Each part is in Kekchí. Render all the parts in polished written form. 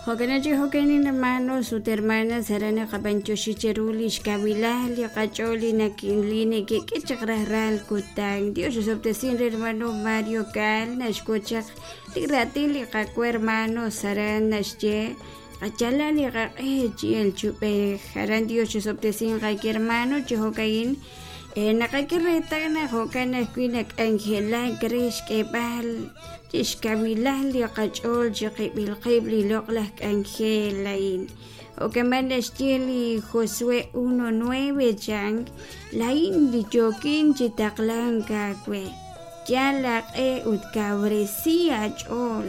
Jo'kan chi jo'kan hermanos ut hermanas aran naqab'antioxi cheru lix kawilal li qach'ool li li nekek'e chaq rajlal kutan. Dios osob'tesin re hermano Mario Cal naxk'ut chaq li raatin li Qaawa' hermanos aran naxye qayalaq li qaq'e chi elk chi ub'ej. Aran Dios osob'tesin qake hermano chi jo'ka'in naqak'e reetal naq jo'kan ajwi' nak'anjelak re xk'eeb'al chixkawilal li qach'ool chiqib'il qib' li loq'laj k'anjel a'in. Jo'kan naxye li Josué 1:9 chan, laa'in li yookin chi taqlank aawe. Yal aaq'e ut kawresi aach'ool.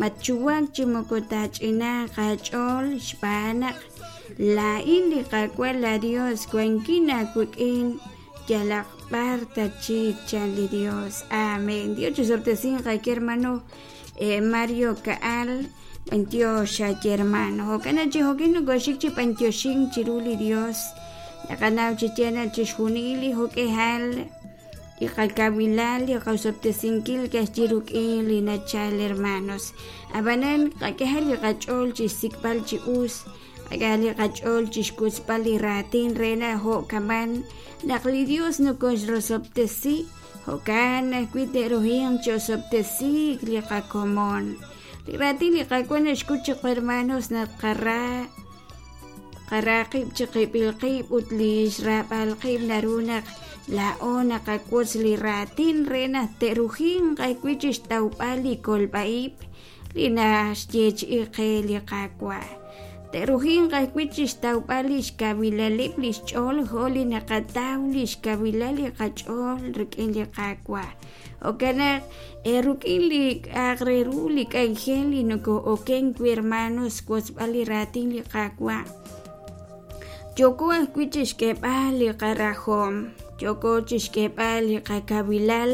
Matxuwak chi moko taach'inaaq aach'ool xb'aan naq laa'in li Qaawa' laaYos wankin aawik'in yalaq b'ar tatxik, chan li Dios. Amén. Dios chisob'tesinq aawe hermano Mario Ka'al. B'antiox aaye hermano. Jo'kan chi jo'kin nokoxik chi b'antioxink chiru li Dios. Naqanaw chi yaal naq chixjunil li jo'k'ihal li qakawilal, li qosob'tesinkil ka'ajwi' rik'in li nachal hermanos. Ab'anan qak'ehaq li qach'ool chi xsik'b'al chi us, qak'ehaq li qach'ool chi xwotzb'al li raatin re naq jo'kaman naq li Dios nokoxrosob'tesi, jo'kan ajwi' te'ruhinq chi osob'tesiik li qakomon. Li raatin li Qaawa' naxk'ut chiqu hermanos naq qara qara qib' chiqib'il qib' ut li xraab'al qib' naru naq laa'o naqawotz li raatin re naq te'rujinq ajwi' chi xtawb'al li kolb'a-ib' li naxyeechi'i qe li Qaawa'. Te'rujinq ajwi' chi xtawb'al li xkawilaleb' li xch'ool jo' li naqataw li xkawilal li qach'ool rik'in li Qaawa'. Jo'kan naq rik'in li k'a'aq re ru li k'anjel li noko'oken wi' hermanos xwotzb'al li raatin li Qaawa', yooko ajwi' chixk'eeb'al li qarajom, yooko chixk'eeb'al li qakawilal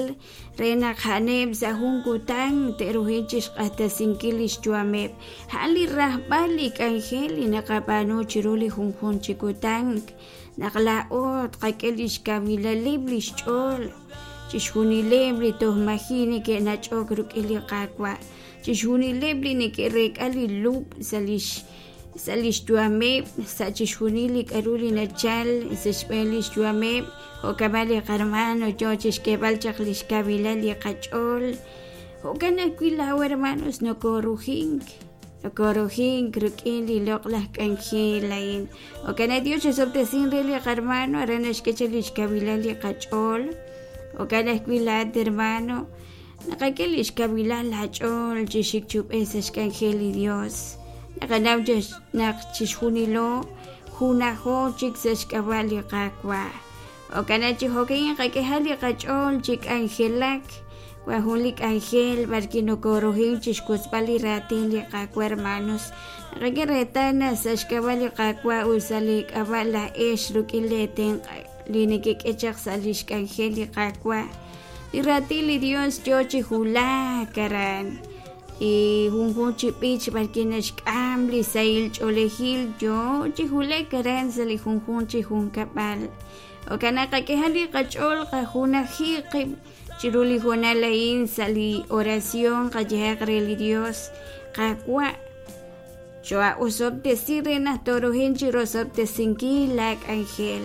re naq a'aneb' sa' jun kutan te'ruhin chixq'axtesinkil lix yu'ameb'. A'an li rajb'al li k'anjel li naqab'aanu chiru li junjunq chi kutan, naq laa'o tqak'e lix kawilaleb' lix ch'ool chixjunileb' li toj maji' neke'nach'ok rik'in li Qaawa', chixjunileb' li neke'reek'a li lub' sa' lix sa' lix yu'ameb', sa' chixjunil li k'a'ru li nachal sa' xb'een lix yu'ameb', jo'kan li qarmano yoo chixk'eeb'al chaq lix kawilal li qach'ool. Jo'kan ajwi' laa'o hermanos nokorujink, nokorujink rik'in li loq'laj k'anjel a'in. Jo'kan naq Dios chisob'tesin re li qarmano aran naxk'e chaq lix kawilal li qach'ool. Jo'kan ajwi' laa'at hermano, naqak'e lix kawilal laach'ool chi xik chi ub'ej sa' xk'anjel li Dios. Naqanaw naq chixjunilo junajo chik sa' xk'ab'a' li Qaawa'. Jo'kan naq chi jo'kan qak'ehaq li qach'ool chi k'anjelak. Wan jun li k'anjel b'arwi' nokoruhin chi xwotzb'al li raatin li Qaawa' hermanos. Naqak'e reetal naq sa' xk'ab'a' li Qaawa' ut sa' li k'ab'a' laa'ex rik'in lee tenq' li nekek'e chaq sa' lix k'anjel li Qaawa', li raatin li Dios yoo chi wulak aran. Li junjunq chi b'ich b'arwi' naxk'am li sahil ch'oolejil yoo chi wulak aran sa' li junjunq chi junkab'al. Jo'kan naq qak'ehaq li qach'ool qajunaji qib' chiru li hoonal a'in sa' li oración qayehaq re li Dios, Qaawa', choo'osob'tesi re naq tooruhin chi rosob'tesinkil laa k'anjel.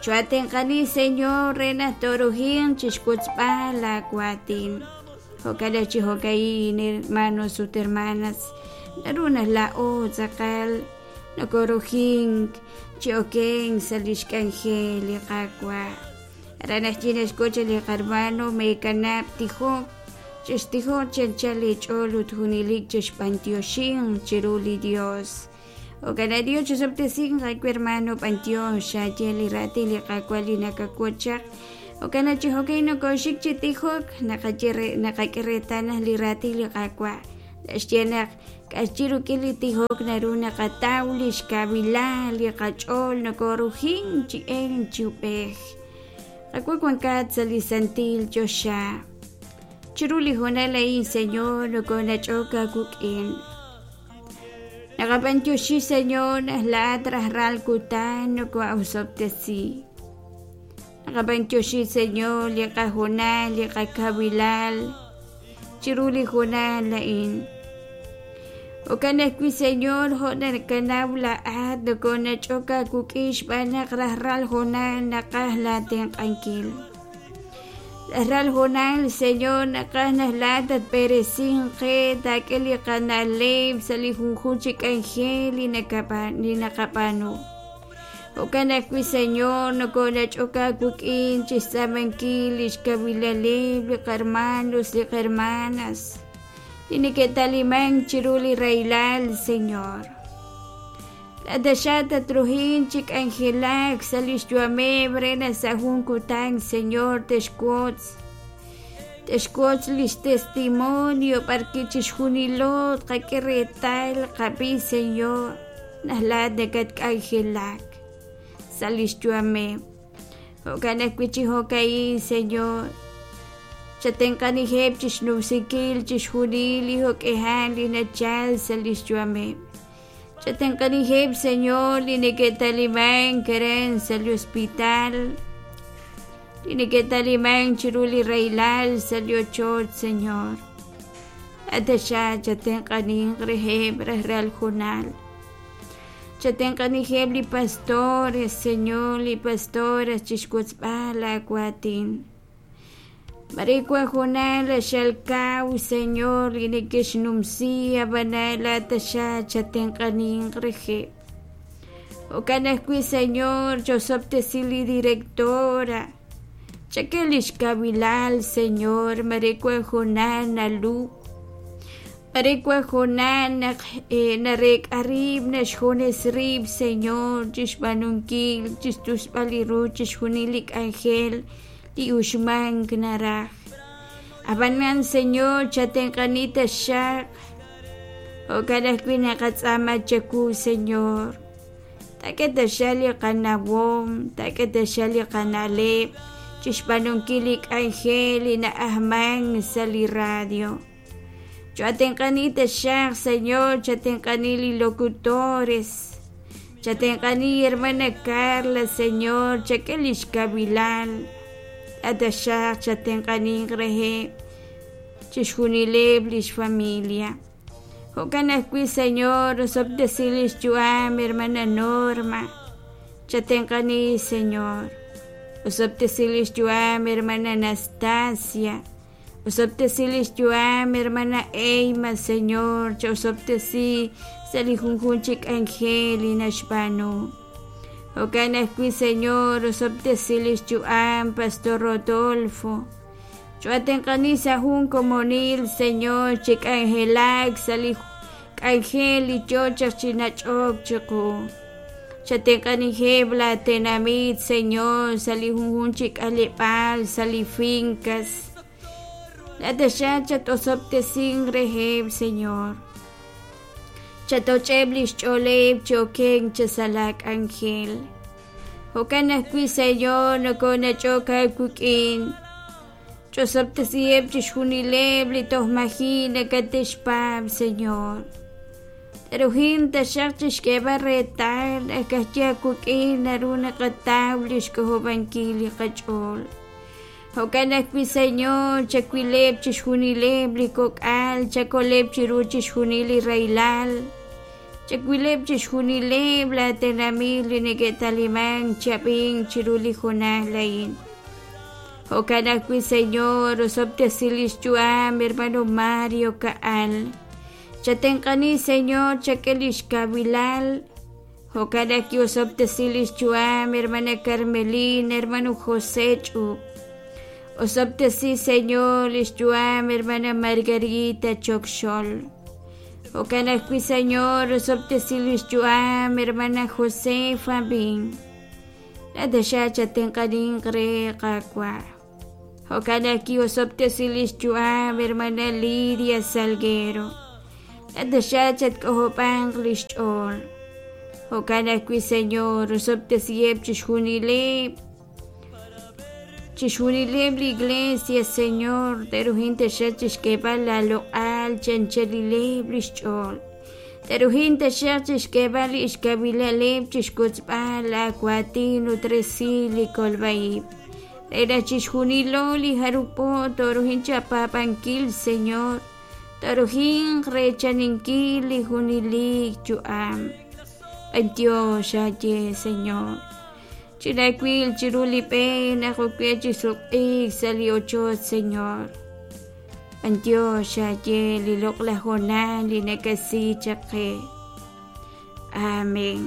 Choo'atenq'ani, Señor, re naq tooruhin chixwotzb'al laa waatin. Jo'kan naq chi jo'ka'in, hermanos ut hermanas, naru naq laa'o tz'aqal nokorujink chi okenk sa' lix k'anjel li Qaawa'. Aran ajwi' naxk'ut li qarmano meekanab' tijok, chextijoq chi anchal eech'ool ut junelik chexb'antioxinq chiru li Dios. Jo'kan naq Dios chisob'tesinq aawe hermano b'antiox xaaye li raatin li Qaawa' li nakawotz chaq. Jo'kan naq chi jo'kan nokooxik chi tijok, naqaye re naqak'e reetal naq li raatin li Qaawa' naxye naq k'axyi rik'in li tijok naru naqataw li xkawilal li qach'ool nokorujink chi elk chi ub'ej. Qaawa' wankat sa' li santil choxa. Chiru li hoonal a'in, Señor, nokonach'ok aawik'in. Naqab'antioxi, Señor, naq laa'at rajlal kutan noko'osob'tesi. Naqab'antioxi, Señor, li qahoonal, li qakawilal chiru li hoonal a'in. Jo'kan ajwi', Señor, jo' nakanaw laa'at nokoonach'ok aawik'in xb'aan naq rajlal hoonal naqaj laatenq'ankil. Rajlal hoonal, Señor, naqaj naq laa'at tatb'eresinq qe, taak'e li qana'leb' sa' li junjunq chi k'anjel li naqab'aanu. Jo'kan ajwi', Señor, nokoonach'ok aawik'in chi xtz'aamankil li xkawilaleb' li qahermanos li qahermanas li neke'talimank chiru li rahilal, Señor. Laa'at taxaq tatruhin chi k'anjelak sa' li xyu'ameb' re naq sa' jun kutan, Señor, te'xwotz te'xwotz li xtestimonio b'arwi' chixjunilo tqak'e reetal qab'i, Señor, naq laa'at nakatk'anjelak sa' li xyu'ameb'. Jo'kan ajwi' chi jo'ka'in, Señor, chatenq'aniheb' chi xnumsinkil chixjunil li jo'k'ihal li nachal sa' li xyu'ameb'. Chatenq'aniheb', Señor, li neke'talimank aran sa' li hospital, li neke'talimank chiru li rahilal sa' li ochoch, Señor. Laa'at taxaq chatenq'aninq reheb' rajlal junal. Chatenq'aniheb' li pastores, Señor, li pastoras chixwotzb'al laawaatin. Mare wan hoonal q'axal kaw, Señor, li neke'xnumsi, ab'anan laa'at taxaq chatenq'aninq reheb'. Jo'kan ajwi', Señor, chosob'tesi li directora. Chak'e li xkawilal, Señor, mare wan hoonal nalub'. Mare wan hoonal naq nareek'a rib' naxjunes rib', Señor, chi xb'aanunkil, chi xtusb'al li ru chixjunil li k'anjel li uxmank naraj. Ab'anan, Señor, chatenq'ani taxaq. Jo'kan ajwi' naqatz'aama chawu, Señor. Taak'e taxaq li qanawom, taak'e taxaq li qana'leb' chi xb'aanunkil li k'anjel li na'ajmank sa' li radio. Chatenq'ani taxaq, Señor, chatenq'ani li locutores. Chatenq'ani hermana Carla, Señor, chak'e li xkawilal. Taxaq chatenq'aninq reheb' chixjunileb' li xfamilia. Jo'kan ajwi', Señor, osob'tesi li xyu'am hermana Norma. Chatenq'ani, Señor. Osob'tesi li xyu'am hermana Anastasia. Osob'tesi li xyu'am hermana Eyma, Señor, cha'osob'tesi sa' li junjunq chi k'anjel li naxb'aanu. Jo'kan ajwi', Señor, osob'tesi li xyu'am Pastor Rodolfo. Cho'atenq'ani sa' jun komonil, Señor, chi k'anjelak sa' li k'anjel li yoo chaq chi nach'ok chiqu. Chatenq'aniheb' laatenamit, Señor, sa' li junjunq chi k'aleb'aal, sa' li fincas. Laa'at taxaq chat-osob'tesinq reheb', Señor. Chatoch'eb' li xch'ooleb' chi okenk chi sa' laak'anjel. Jo'kan ajwi', Señor, nokoonach'ok aawik'in. Ch'osob'tesiheb' chixjunileb' li toj maji' nakate'xpaab', Señor. Rujin taxaq chixk'eeb'al reetal naq ka'ajwi' aawik'in naru naqataw li xk'ojob'ankil li qach'ool. Jo'kan ajwi', Señor, chawileb' chixjunileb' li kok'al, chakoleb' chiru chixjunil li rahilal, chawileb' chixjunileb' laatenamit li neke'talimank chi ab'ink chiru li hoonal a'in. Jo'kan ajwi', Señor, osob'tesi li xyu'am hermano Mario Ka'al. Chatenq'ani, Señor, chak'e li xkawilal. Jo'kan ajwi' osob'tesi li xyu'am hermana Carmelina, hermano José Ch'ub. Osob'tesi, Señor, li xyu'am hermana Margarita Chokxol. Jo'kan ajwi', Señor, osob'tesi li xyu'am hermana Josefa Bin. Laa'at taxaq chatenq'aninq re Qaawa'. Jo'kan naq ki'osob'tesi li xyu'am hermana Lidia Salguero. Laa'at taxaq chatk'ojob'anq li xch'ool. Jo'kan ajwi', Señor, osob'tesiheb' chixjunileb' chixjunileb' li iglesia, Señor, te'ruhin taxaq chixk'eeb'al laaloq'al chi anchalileb' li xch'ool. Te'ruhin taxaq chixk'eeb'al li xkawilaleb' chixkotzb'al laawaatin ut resil li kolb'a-ib'. Re naq chixjunilo li jarub' po tooruhin chapaab'ankil, Señor, Torujinq reechaninkil li junelik yu'am. B'antiox aaye, Señor. Chinawil chiru li b'e naq ok we chi sutq'iik sa' li ochoch, Señor. B'antiox aaye li loq'laj hoonal li nakasi chaq qe. Amén.